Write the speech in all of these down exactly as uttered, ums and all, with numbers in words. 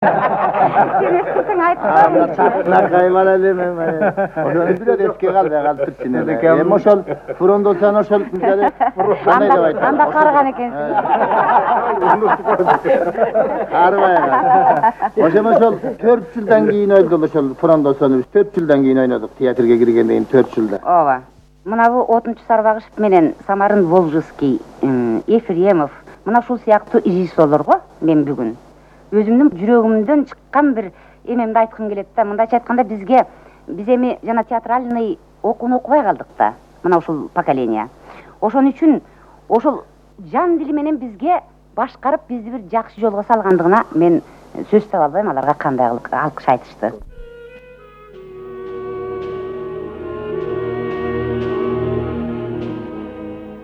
Сен эскисиң айтып Чатына кайман эле мен. Ошону бирөө эске калбай калыптырчы. Эми ошол фурондосун ошол жана кандай деп айтат? Анда карыган экенсиң. Карыбай. Ошол ошол төрт жылдан кийин өлдү ошол фурондосун. төрт жылдан кийин ойнодук театрга киргенден кийин төрт жылда. Ооба. Мына бу Отунчу Сарбагышев менен Самарын Волжский, Ефремов, мына ушул сыяктуу режиссерлорго мен бүгүн өзүмдүн жүрөгүмдөн чыккан бир эмемди айткым келет да. Мындайча айтканда бизге биз эми жана театральный окууну окубай калдык да. Мына ушул поколение. Ошон үчүн ошол жан дили менен бизге башкарып бизди бир жакшы жолго салгандыгына мен сөз таба албайм. Аларга кандай алкыш айтышты.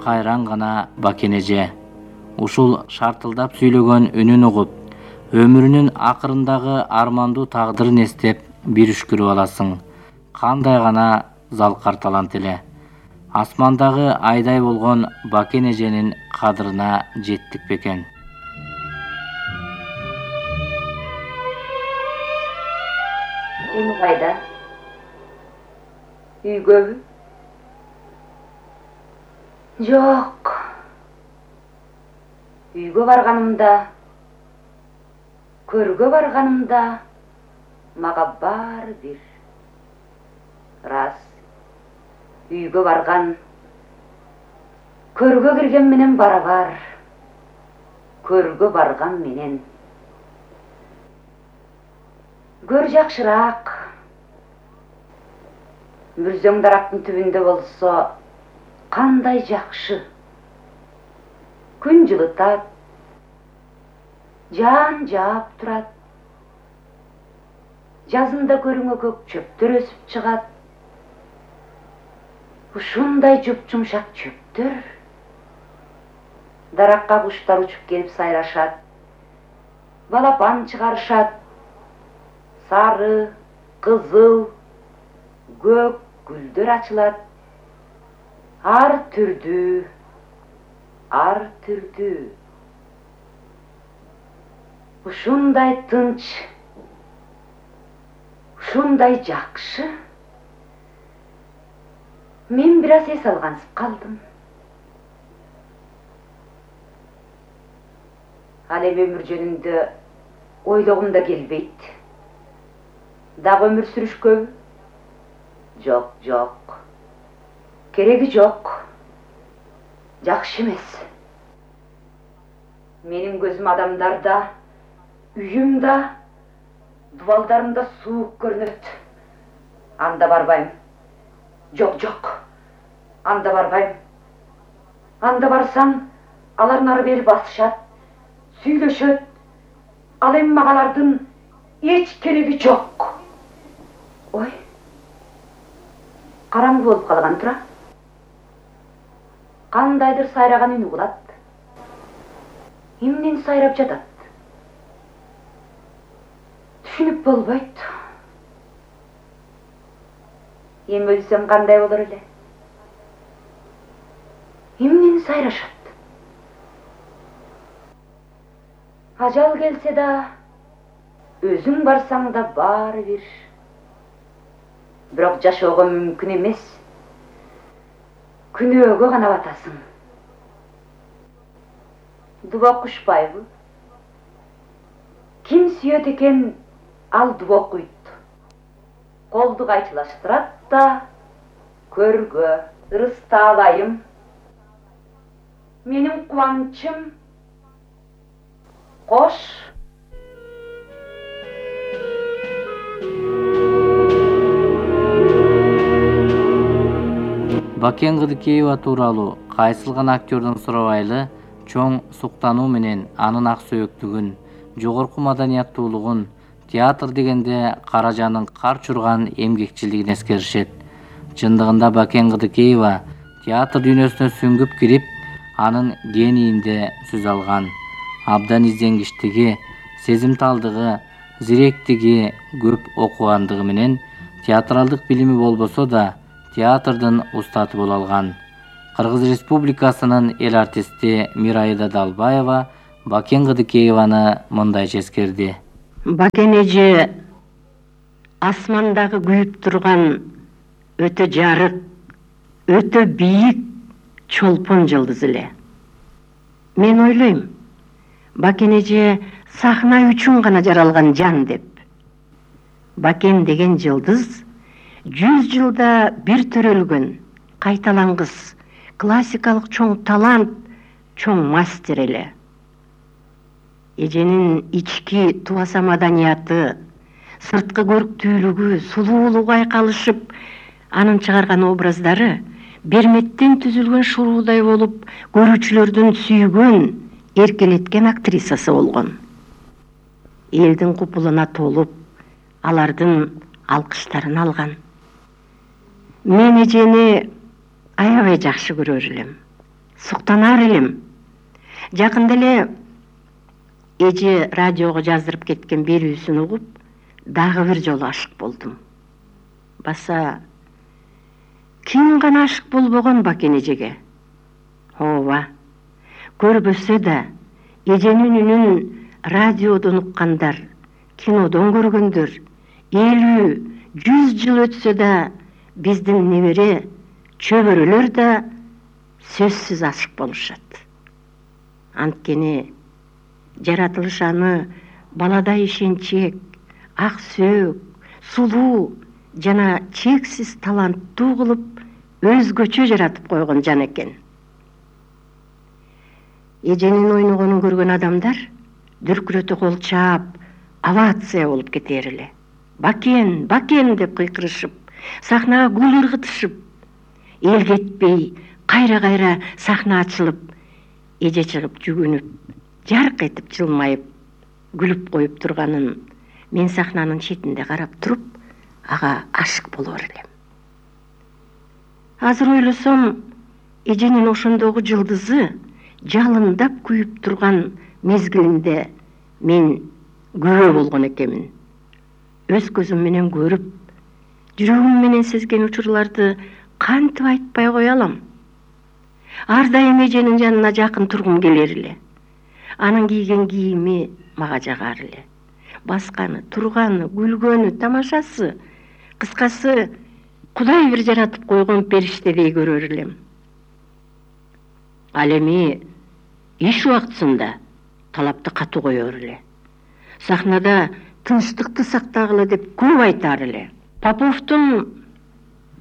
Кайран гана Бакен эже ушул шартылдап сүйлөгөн үнүн угуп, өмүрүнүн акырындагы армандуу тагдырын эстеп бир үшкүрүп аласың. Кандай гана залкар талант эле. Асмандагы айдай болгон Бакен эженин кадырына жеттик бекен. Эми кайда? Үйгөбү? Жок. Үйгө барганымда, көргө барганымда мага баары бир. Рас. Үйгө барган, көргө кирген менен барабар. Көргө барган менен. Көр жакшыраак. Мүрзөң дарактын түбүндө болсо кандай жакшы. Күн жылытат, жан жаап турат. Жазында көрүңө көк чөптөр өсүп чыгат. Ушундай жуп-жумшак чөптөр. Даракка куштар учуп келип сайрашат. Балапан чыгарышат. Сары, кызыл, көк гүлдөр ачылат. Ар түрдүү, ар түрдүү. Ушундай тынч, ушундай жакшы. Мен бир аз эс алгансып калдым. Ал эми өмүр жөнүндө ойлогум да келбейт. Дагы өмүр сүрүшкөбү? Жок, жок. Кереги жок. Жакшы эмес. Менин көзүм адамдарда, үйүмда, дубалдарымда суук көрүнөт. Анда барбайм. Жок, жок. Анда барбайм. Анда барсам, алар нары бери басышат, сүйлөшөт. Ал эми мага алардын эч кереги жок. Ой. Караңгы болуп калган тура. Кандайдыр сайраган үн угулат. Эмнени сайрап жатат? Түшүнүп болбойт. Эми өлсөм кандай болор эле? Эмнени сайрашат? Ажал келсе да, өзүң барсаң да баары бир. Бирок жашоого мүмкүн эмес. Күнөөгө гана батасың. Дубак кушпайбы? Ким сүйөт экен, ал дубак уйт. Колду кайчылаштырат да, көргө, ырыстаалайым. Менин кубанычым кош. Бакен Кыдыкеева тууралуу кайсыл гана актёрдон сурабайлы чоң суктануу менен анын ак сөөктүгүн, жогорку маданияттуулугун, театр дегенде Каражанын кар чурган эмгекчилигин эскеришет. Чындыгында Бакен Кыдыкеева театр дүйнөсүнө сүңгүп кирип, анын генийинде сөз алган. Абдан изденгичтиги, сезимталдыгы, зиректиги, көп окугандыгы менен театралдык билими болбосо да театрдын устаты боло алган. Кыргыз Республикасынын эл артисти Мирайда Далбаева Бакен Кыдыкееваны мындайча эскерди. Бакен эже асмандагы күйүп турган өтө жарык, өтө бийик чолпон жылдыз эле. Мен ойлойм, Бакен эже сахна үчүн гана жаралган жан деп. Бакен деген жылдыз жүз жылда бир төрөлгөн, кайталангыс, классикалык чоң талант, чоң мастер эле. Эженин ички тубаса маданияты, сырткы көрктүүлүгү, сулуулугу айкалышып, анын чыгарган образдары берметтен түзүлгөн шуруудай болуп, көрүүчүлөрдүн сүйгөн, эркелеткен актрисасы болгон. Элдин купулуна толуп, алардын алкыштарын алган. Мен эжени аябай жакшы көрөр элем, суктанар элем. Жакында эле эже радиого жаздырып кеткен берүүсүн угуп, дагы бир жолу ашык болдум. Баса ким гана ашык болбогон Бакен эжеге? Ооба, көрбөсө да эженин үнүн радиодон уккандар, кинодон көргөндөр, элүү, жүз жыл өтсө да биздин небере, чөбөрөлөр да сөзсүз ашык болушат. Анткени жаратылыш аны баладай ишенчек, ак сөөк, сулуу жана чексиз таланттуу кылып өзгөчө жаратып койгон жан экен. Эженин ойногонун көргөн адамдар дүркүрөтө кол чаап, овация болуп кетер эле. Бакен, Бакен деп кыйкырышып, сахнага гүл ыргытышып, эл кетпей, кайра-кайра сахна ачылып, эже чыгып жүгүнүп, жарк этип жылмайып, күлүп коюп турганын мен сахнанын четинде карап туруп, ага ашык болор элем. Азыр ойлосом, эженин ошондогу жылдызы жалындап күйүп турган мезгилинде мен күбө болгон экенмин. Өз көзүм менен көрүп, жүрөгүм менен сезген учурларды кантип айтпай кое алам. Ар дайым эженин жанына жакын тургум келер эле. Анын кийген кийими мага жагар эле. Басканы, турганы, күлгөнү, тамашасы, кыскасы, Кудай бир жаратып койгон периштедей көрөр элем. Ал эми иш убактысында талапты катуу коёр эле. Сахнада тынчтыкты сактагыла деп көп айтар эле. Поповдун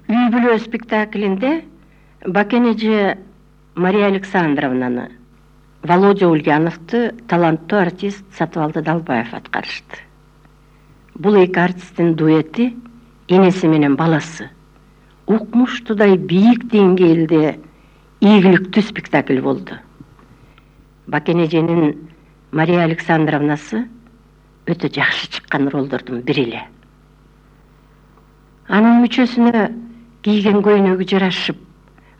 үй бүлө спектаклинде Бакен эже Мария Александровнаны, Володя Ульяновду таланттуу артист Сатыбалды Далбаев аткарышты. Бул эки артисттин дуэти энеси менен баласы укмуштуудай бийик деңгээлде ийгиликтүү спектакль болду. Бакен эженин Мария Александровнасы өтө жакшы чыккан ролдордун бири эле. Анын мүчөсүнө кийген көйнөгү жарашып,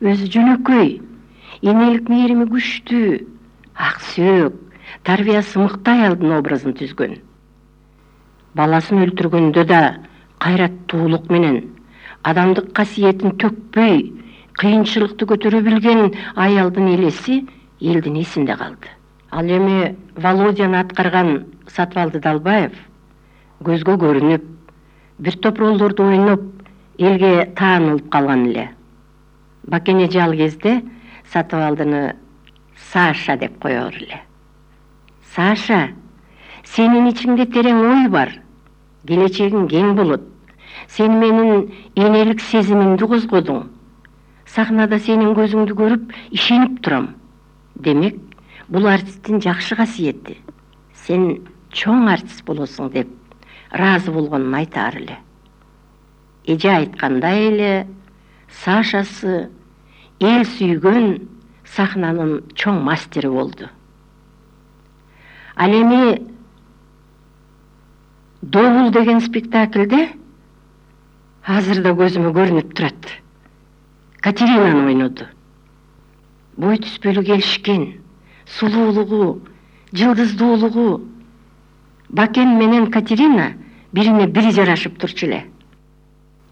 өзү жөнөкөй, энелик мээрими күчтүү, ак сөөк, тарбиясы мыкты аялдын образын түзгөн. Баласын өлтүргөндө да кайраттуулук менен, адамдык касиетин төкпөй, кыйынчылыкты көтөрө билген аялдын элеси элдин эсинде калды. Ал эми Володяны аткарган Сатыбалды Далбаев көзгө көрүнүп, бир топ ролдорду ойноп, элге таанылып калган эле. Бакен эже ал кезде Сатыбалдыны Саша деп коёр эле. Саша, сенин ичиңде терең ой бар, келечегиң кең болот. Сен менин энелик сезимимди козгодуң. Сахнада сенин көзүңдү көрүп, ишенип турам. Демек, бул артисттин жакшы касиети. Сен чоң артист болосуң деп ыраазы болгонун айтаар эле. Эже айткандай эле, Сашасы эл сүйгөн сахнанын чоң мастери болду. Ал эми Довул деген спектакльде азыр да көзүмө көрүнүп турат. Катеринаны ойноду. Бой түспөлү келишкен, сулуулугу, жылдыздуулугу. Бакен менен Катерина бирине бири жарашып турчу эле.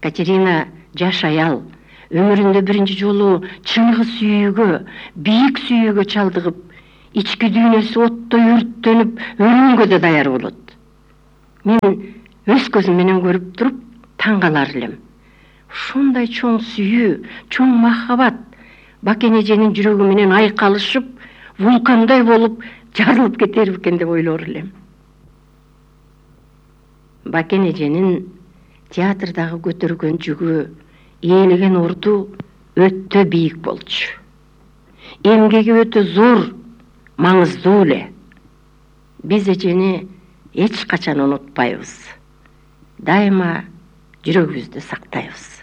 Катерина жаш аял, өмүрүндө биринчи жолу чыныгы сүйүүгө, бийик сүйүүгө чалдыгып, ички дүйнөсү оттой өрттөнүп, өлүмгө да даяр болот. мен өз көзүм менен көрүп туруп таң калар элем. Ушундай чоң сүйүү, чоң махабат Бакен эженин жүрөгү менен айкалышып, вулкандай болуп жарылып кетер экен деп ойлор элем. Бакен эженин театрдагы көтөргөн жүгү, ээлеген орду өтө бийик болчу. Эмгеги өтө зор, маңыздуу эле. Биз эжени эч качан унутпайбыз. Дайыма жүрөгүбүздө сактайбыз.